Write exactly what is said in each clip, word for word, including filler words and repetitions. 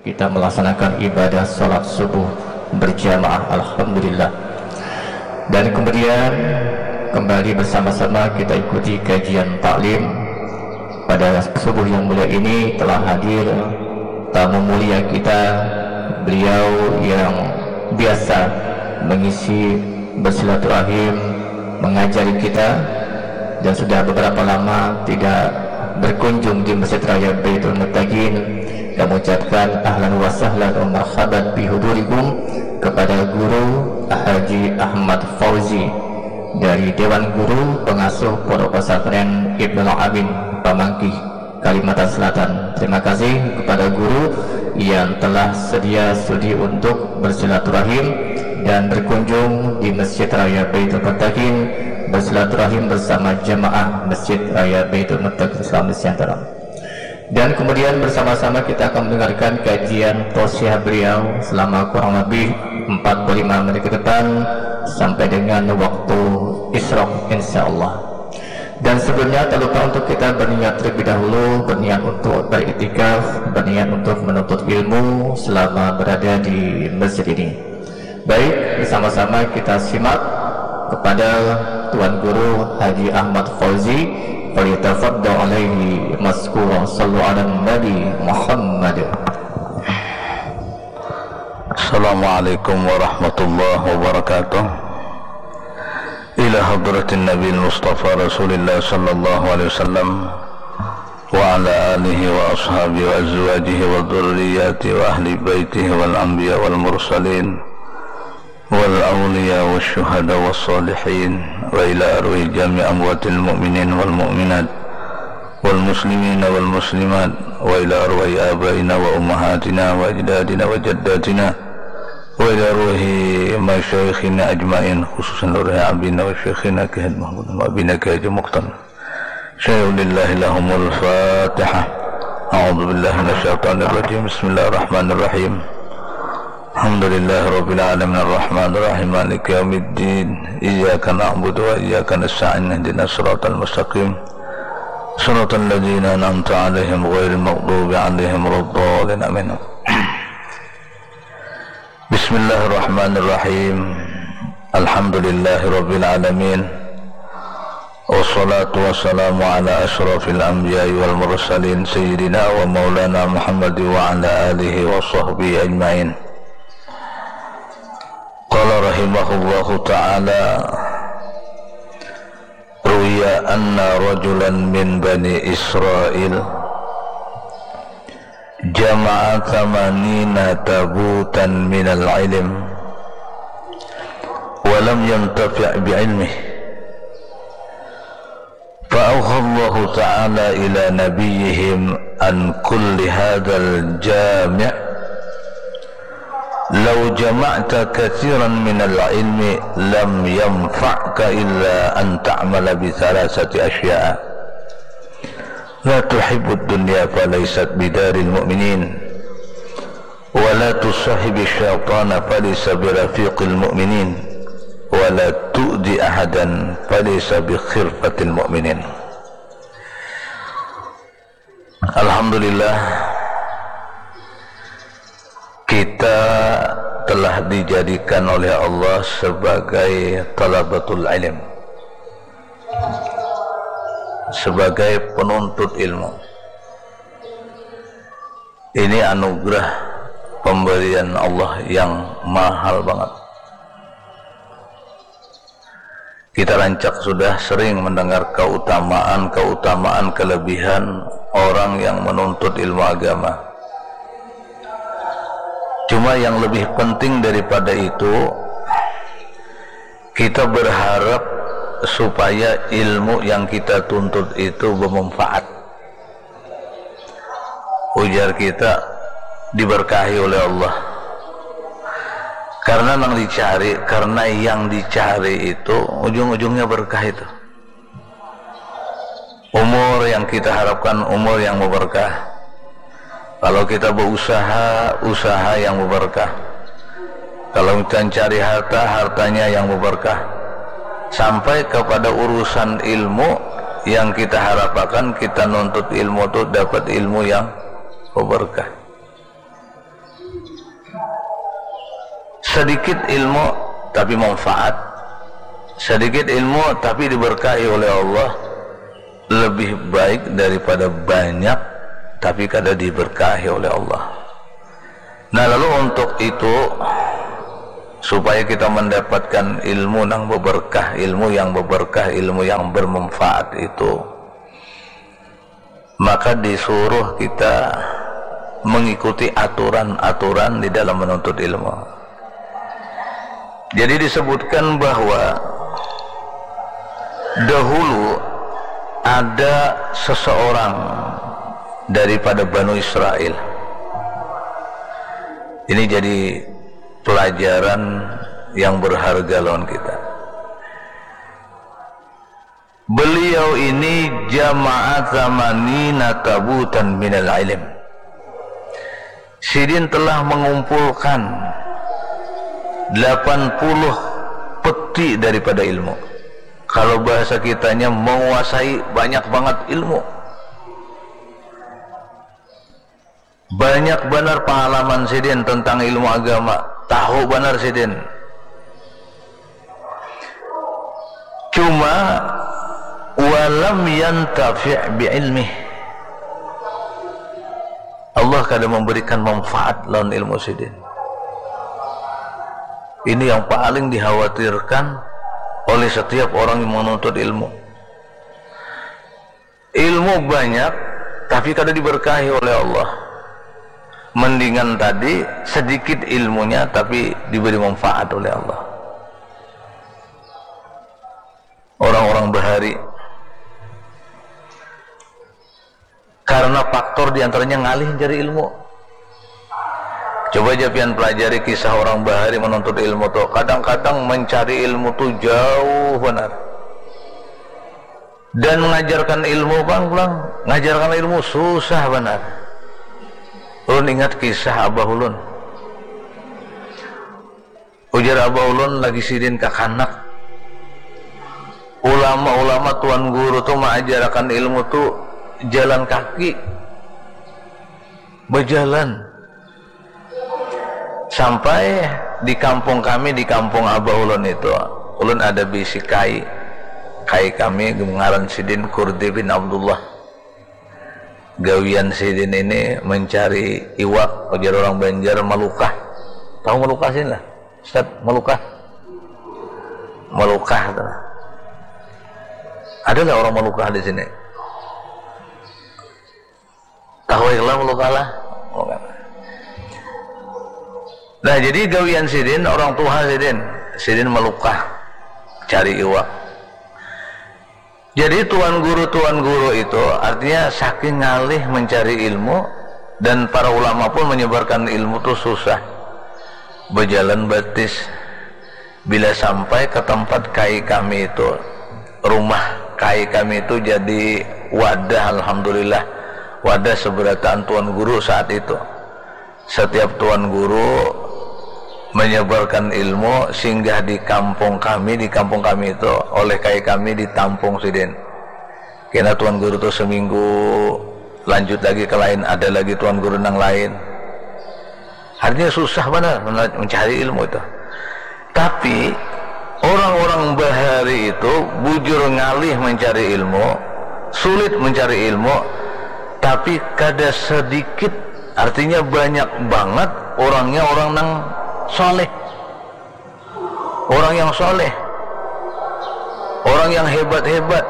Kita melaksanakan ibadah salat subuh berjamaah, alhamdulillah. Dan kemudian kembali bersama-sama kita ikuti kajian taklim. Pada subuh yang mulia ini telah hadir tamu mulia kita, beliau yang biasa mengisi bersilaturahim, mengajari kita, dan sudah beberapa lama tidak berkunjung di Masjid Raya Baitul Muttaqin. Kami ucapkan ahlan wa sahlan wa marhaban bihudurikum kepada Guru Haji Ahmad Fauzi dari Dewan Guru Pengasuh Pondok Pesantren Ibnul Amin, Pamangkih, Kalimantan Selatan. Terima kasih kepada guru yang telah sedia sudi untuk bersilaturahim dan berkunjung di Masjid Raya Baitul Muttaqin, bersilaturahim bersama jamaah Masjid Raya Baitul Muttaqin Islamic Center. Dan kemudian bersama-sama kita akan mendengarkan kajian tausiah beliau selama kurang lebih empat puluh lima menit ke depan sampai dengan waktu isyraq, insya Allah. Dan sebelumnya, tak lupa untuk kita berniat terlebih dahulu, berniat untuk beriktikaf, berniat untuk menuntut ilmu selama berada di masjid ini. Baik, bersama-sama kita simak kepada Tuan Guru Haji Ahmad Fauzi. Falyatafaddal alaihi maskura. Sallu ala Nabi Muhammad. Assalamualaikum warahmatullahi wabarakatuh. Ila hadratin Nabi Mustafa Rasulillah sallallahu alaihi wasallam, wa ala alihi wa ashabihi wa azwajihi wa dzurriyyatihi wa ahli baitihi wal anbiya wal mursalin wal awliya wa syuhada wa salihin, wa ila arwahi jami amwatil mu'minin wal mu'minat, wal muslimina wal muslimat, wa ila arwahi abaina wa ummahatina wa ajdadina wa jaddatina, wa ila arwahi masyaikhina ajmain, khususan arwahi abina wa syaikhina Kiai Haji Mahmud wa abina Kiai Haji Mukhtar. Syai'un lillahi lahumul Fatihah. A'udzu billahi minasyaitonir rajim. Bismillahirrahmanirrahim. Alhamdulillahi rabbil alamin, arrahmanir rahim, maliki yaumiddin. Iyyaka na'budu wa iyyaka nasta'in. Ihdinas siratal mustaqim. Siratal ladzina an'amta 'alaihim ghairil maghdubi 'alaihim waladdallin. Amin. Bismillahirrahmanirrahim. Alhamdulillahi rabbil alamin. Wassalatu wassalamu ala asyrafil anbiya'i wal mursalin, sayyidina wa maulana Muhammad wa ala alihi wa sahbihi ajmain. Qala rahimahullahu ta'ala, ruwiya anna rajulan min bani Israil jama'a thamanina tabutan minal ilm wa lam yantafi' bi ilmih. Fa auha Allahu ta'ala ila nabiyyihim an kulli hadzal jami', law jama'ta katsiran minal ilmi lam yanfa'ka illa an ta'mala bi thalathati asya'a. La tuhibbud dunya falaysat bidaril mu'minin. Wa la tusahhibi syaitana falaysa birafiqil mu'minin. Wa la tu'di ahadan falaysa bi khirfatil mu'minin. Alhamdulillah, kita telah dijadikan oleh Allah sebagai talabatul ilm, sebagai penuntut ilmu. Ini anugerah pemberian Allah yang mahal banget. Kita rancak sudah sering mendengar keutamaan-keutamaan, kelebihan orang yang menuntut ilmu agama. Cuma yang lebih penting daripada itu, kita berharap supaya ilmu yang kita tuntut itu bermanfaat. Ujar kita, diberkahi oleh Allah. Karena nang dicari, karena yang dicari itu ujung-ujungnya berkah itu. Umur yang kita harapkan umur yang berkah. Kalau kita berusaha, usaha yang berkah. Kalau kita mencari harta, hartanya yang berkah. Sampai kepada urusan ilmu yang kita harapkan, kita nuntut ilmu itu dapat ilmu yang berkah. Sedikit ilmu tapi manfaat, sedikit ilmu tapi diberkahi oleh Allah, lebih baik daripada banyak tapi kada diberkahi oleh Allah. Nah, lalu untuk itu, supaya kita mendapatkan ilmu nang beberkah, ilmu yang beberkah, ilmu yang bermanfaat itu, maka disuruh kita mengikuti aturan-aturan di dalam menuntut ilmu. Jadi disebutkan bahwa dahulu ada seseorang daripada Banu Israel. Ini jadi pelajaran yang berharga lawan kita. Beliau ini jamaah zamanina tabutan minal ilm. Sidin telah mengumpulkan delapan puluh peti daripada ilmu. Kalau bahasa kitanya, menguasai banyak banget ilmu. Banyak banar pangalaman sidin tentang ilmu agama, tahu banar sidin. Cuma, walam yantafi' bi ilmih. Allah kada memberikan manfaat lawan ilmu sidin. Ini yang paling dikhawatirkan oleh setiap orang yang menuntut ilmu. Ilmu banyak tapi kada diberkahi oleh Allah. Mendingan tadi sedikit ilmunya tapi diberi manfaat oleh Allah. Orang-orang bahari, karena faktor diantaranya ngalih mencari ilmu. Coba ja pian pelajari kisah orang bahari menuntut ilmu tu. Kadang-kadang mencari ilmu tu jauh banar. Dan mengajarkan ilmu pang pulang, ngajarkan ilmu susah banar. Ulun ingat kisah abah ulun. Ujar abah ulun lagi sidin kakanak, ulama-ulama tuan guru tu maajarakan ilmu tu jalan kaki, bajalan. Sampai di kampung kami, di kampung abah ulun itu, ulun ada bisi kai. Kai kami ngaran sidin Kurdi bin Abdullah. Gawian sidin ini mencari iwak, ujar orang Banjar, malukah. Tahu malukah sini lah, Ustaz? Malukah? Malukah tu. Adalah orang malukah di sini. Tahu lah malukah lah. Nah, jadi gawian sidin, orang tuha sidin, sidin malukah cari iwak. Jadi tuan guru-tuan guru itu artinya saking ngalih mencari ilmu, dan para ulama pun menyebarkan ilmu tu susah. Bajalan batis. Bila sampai ke tempat kai kami itu, rumah kai kami itu jadi wadah, alhamdulillah, wadah seberataan tuan guru saat itu. Setiap tuan guru menyebarkan ilmu, singgah di kampung kami, di kampung kami itu oleh kai kami ditampung sidin. Kena tuan guru tu seminggu, lanjut lagi ke lain, ada lagi tuan guru nang lain. Artinya susah banar mencari ilmu itu. Tapi orang-orang bahari itu bujur ngalih mencari ilmu, sulit mencari ilmu, tapi kada sedikit, artinya banyak banget orangnya orang nang soleh. Orang yang soleh, orang yang hebat-hebat.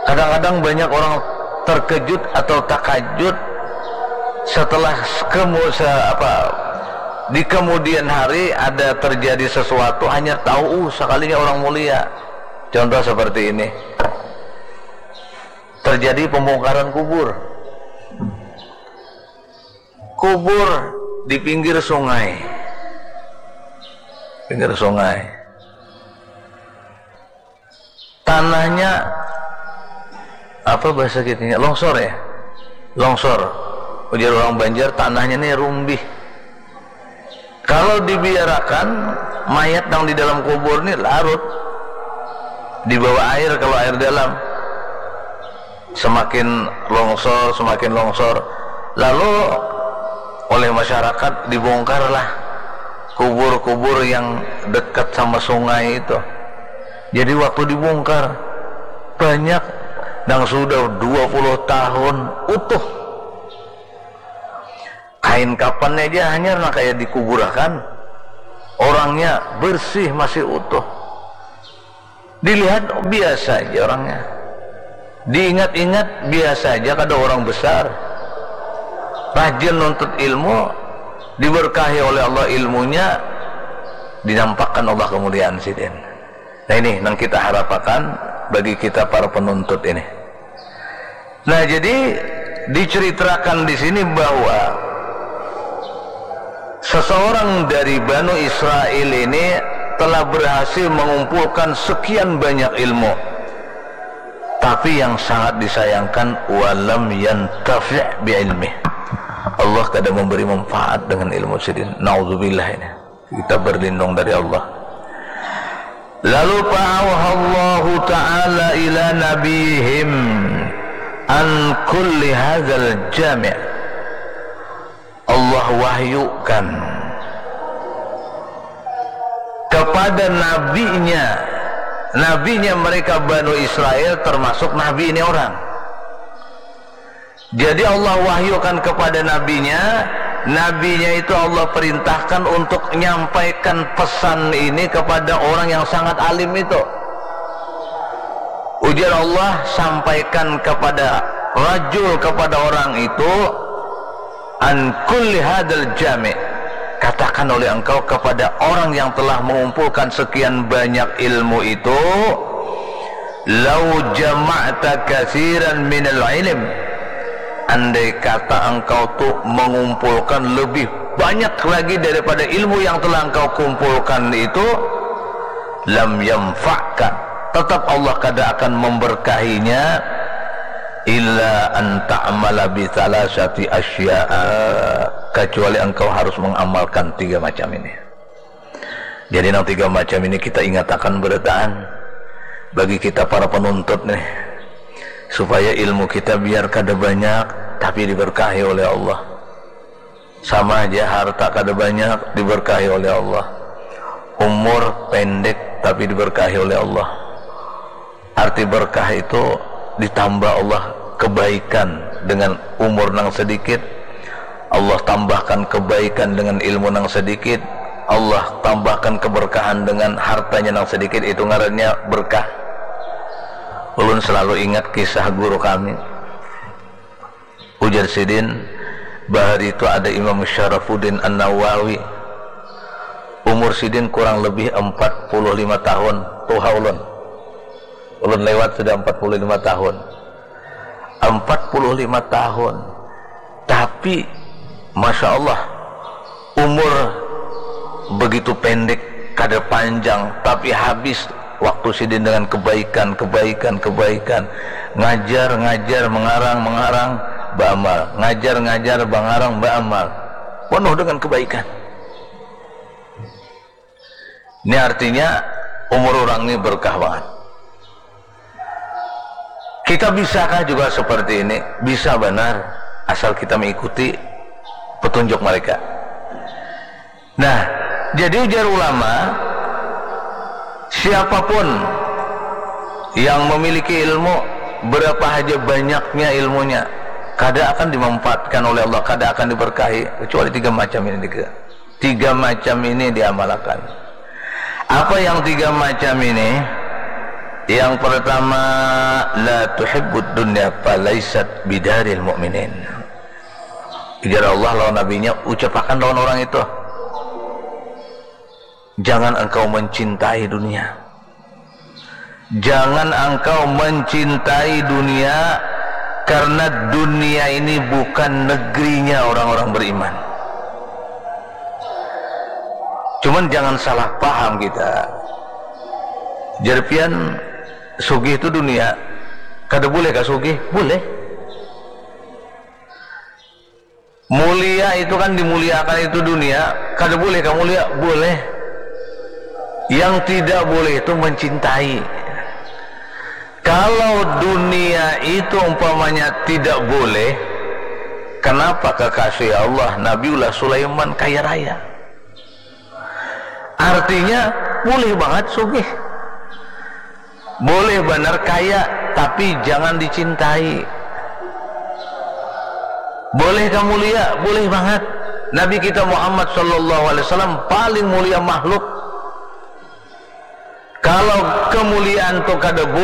Kadang-kadang banyak orang terkejut atau takajut setelah kemu se- apa, di kemudian hari ada terjadi sesuatu, hanya tahu, uh, sekalinya orang mulia. Contoh seperti ini, terjadi pembongkaran kubur. Kubur di pinggir sungai. Pinggir sungai. Tanahnya, apa bahasa kitanya? Longsor, ya? Longsor. Ujar orang Banjar, tanahnya nih rumbih. Kalau dibiarakan, mayat yang di dalam kubur nih larut, dibawa air kalau air dalam. Semakin longsor, semakin longsor. Lalu oleh masyarakat dibongkarlah kubur-kubur yang dekat sama sungai itu. Jadi waktu dibongkar, banyak yang sudah dua puluh tahun utuh. Kain kapannya aja hanyar, nah, kayak dikuburakan. Orangnya bersih, masih utuh. Dilihat biasa aja orangnya. Diingat-ingat biasa aja, kada orang besar. Rajin nuntut ilmu, diberkahi oleh Allah ilmunya, dinampakkan Allah kemuliaan sidin. Nah, ini yang kita harapkan bagi kita para penuntut ini. Nah, jadi diceritakan di sini bahwa seseorang dari Banu Israel ini telah berhasil mengumpulkan sekian banyak ilmu. Tapi yang sangat disayangkan, walam yantafi' bi ilmi. Allah kada memberi manfaat dengan ilmu sidin. Naudzubillah ini. Kita berlindung dari Allah. Lalu fa'auhallahu ta'ala ila nabihim an kulli hadzal jami'. Allah wahyukan kepada nabinya, nabinya mereka Banu Israel, termasuk nabi ini orang. Jadi Allah wahyukan kepada nabinya, nabinya itu Allah perintahkan untuk nyampaikan pesan ini kepada orang yang sangat alim itu. Ujar Allah, sampaikan kepada rajul, kepada orang itu, an kulli hadal jami'. Katakan oleh engkau kepada orang yang telah mengumpulkan sekian banyak ilmu itu, lau jama'ta katsiran minal ilm, andai kata engkau tu mengumpulkan lebih banyak lagi daripada ilmu yang telah engkau kumpulkan itu, lam yanfa'ka, tetap Allah kada akan memberkahinya, illa an ta'mala bi thalathati asya'a, kecuali engkau harus mengamalkan tiga macam ini. Jadi, nang tiga macam ini kita ingatakan berataan bagi kita para penuntut nih, supaya ilmu kita biar kada banyak tapi diberkahi oleh Allah. Sama aja, harta kada banyak diberkahi oleh Allah, umur pendek tapi diberkahi oleh Allah. Arti berkah itu, ditambah Allah kebaikan dengan umur nang sedikit, Allah tambahkan kebaikan dengan ilmu nang sedikit, Allah tambahkan keberkahan dengan hartanya nang sedikit, itu ngarannya berkah. Ulun selalu ingat kisah guru kami. Ujar sidin, bahari itu ada Imam Syarafuddin An-Nawawi. Umur sidin kurang lebih empat puluh lima tahun, tuha ulun. Ulun lewat sudah empat puluh lima tahun. Empat puluh lima tahun. Tapi, Masya Allah, umur begitu pendek, kada panjang, tapi habis waktu sidin dengan kebaikan, kebaikan, kebaikan. Ngajar, ngajar, mengarang, mengarang, baamal. Ngajar, ngajar, mengarang, baamal. Penuh dengan kebaikan. Ini artinya umur orang ini berkah banget. Kita bisakah juga seperti ini? Bisa banar, asal kita mengikuti petunjuk mereka. Nah, jadi ujar ulama, siapapun yang memiliki ilmu, berapa haja banyaknya ilmunya, kada akan dimanfaatkan oleh Allah, kada akan diberkahi, kecuali tiga macam ini, tiga. Tiga macam ini diamalkan. Apa yang tiga macam ini? Yang pertama, la tuhibbud dunya falaisat bidaril mu'minin. Ujar Allah lawan nabinya, ucapakan lawan orang itu, jangan engkau mencintai dunia. Jangan engkau mencintai dunia, karena dunia ini bukan negerinya orang-orang beriman. Cuman jangan salah paham kita. Jar pian, sugih tu dunia. Kada boleh kah sugih? Boleh. Mulia itu kan dimuliakan itu dunia, kada boleh kah mulia? Boleh. Yang tidak boleh itu mencintai. Kalau dunia itu umpamanya tidak boleh, kenapa kekasih Allah Nabiullah Sulaiman kaya raya? Artinya, boleh bangat sugih. Boleh banar kaya, tapi jangan dicintai. Boleh kah mulia? Boleh bangat. Nabi kita Muhammad sallallahu alaihi wasallam paling mulia makhluk. Kalau kemuliaan tu kada